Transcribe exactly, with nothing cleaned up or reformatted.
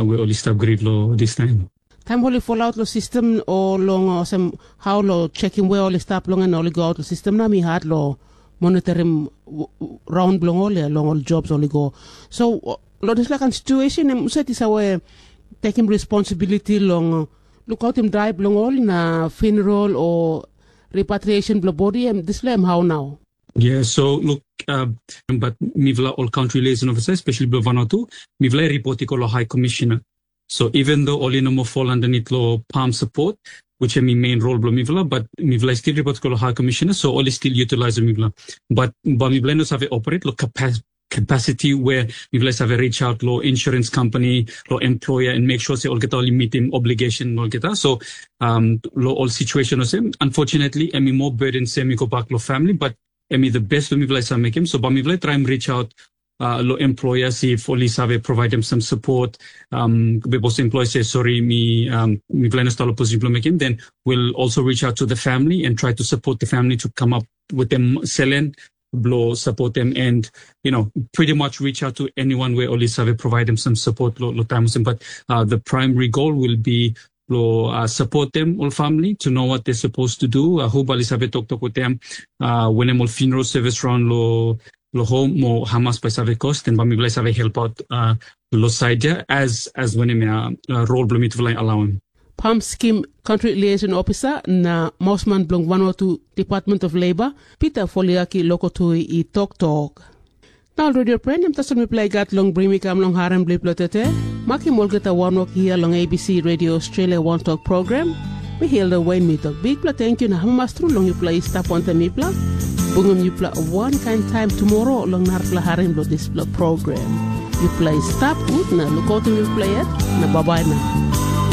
we oli stap grid long distaim. Taim oli folaot long sistem o long olsem hao long sekim we oli stap long en oli goaot long sistem na mi hat long monitorim raun bilong ol ya long ol jobs oli go. So long dispela kain situesen em husat i save tekim responsibiliti long lukaotim dai bilong ol na funeral o repatriation bilong bodi em dispela em hau nau? Yeah, so look, uh, but mivla ol country liaison officer, especially bilong Vanuatu, mivla i report i go lo high commissioner. So even though oli no more fall underneath lo PALM support, which em i main role bilong mivla, but mivla i still report i go lo high commissioner, so oli still utilize mivla. But ba mivla no save operate lo capacity capacity where mivla save reach out lo insurance company, lo employer and make sure se olgeta oli meeting obligation olgeta. So um, lo ol situation olsem, unfortunately, em i more burden se em i go back lo family, but em i the best lo mivla save make him. So ba mivla try and reach out uh, lo employers if oli save provide them some support. Um, bepos employer say sorry, mi um, mivla no start lo position lo make him, then we'll also reach out to the family and try to support the family to come up with them selen blo support them and you know pretty much reach out to anyone where oli save provide them some support lo, lo time olsem. But uh, the primary goal will be blo uh, support them ol family to know what they're supposed to do, uh, who bali save toktok with them uh, when em ol funeral service run lo lo home mo hamas by save cost and bami bla save help out uh, lo side ya as as when em uh, uh, role blo mitufala allow him. Pam Skim, Country Liaison Officer na mausman bilong Vanuatu Department of Labor, Peter Foliaki Lokotui i toktok. Na ol redio pren, em tasol mipela i gat long bring mi kam long harim bilipela tete. Makim olgeta wanwok hia long A B C Radio Australia One Talk program. Mi Hilda Wayne mi tok bikpela thank you na hamamas tru long yupela i stap wantaim mipela. Bungim yupela wankain taim tumora long narapela harim bilong dispela program. Yupela i stap gut na lukautim yupela yet na babai na.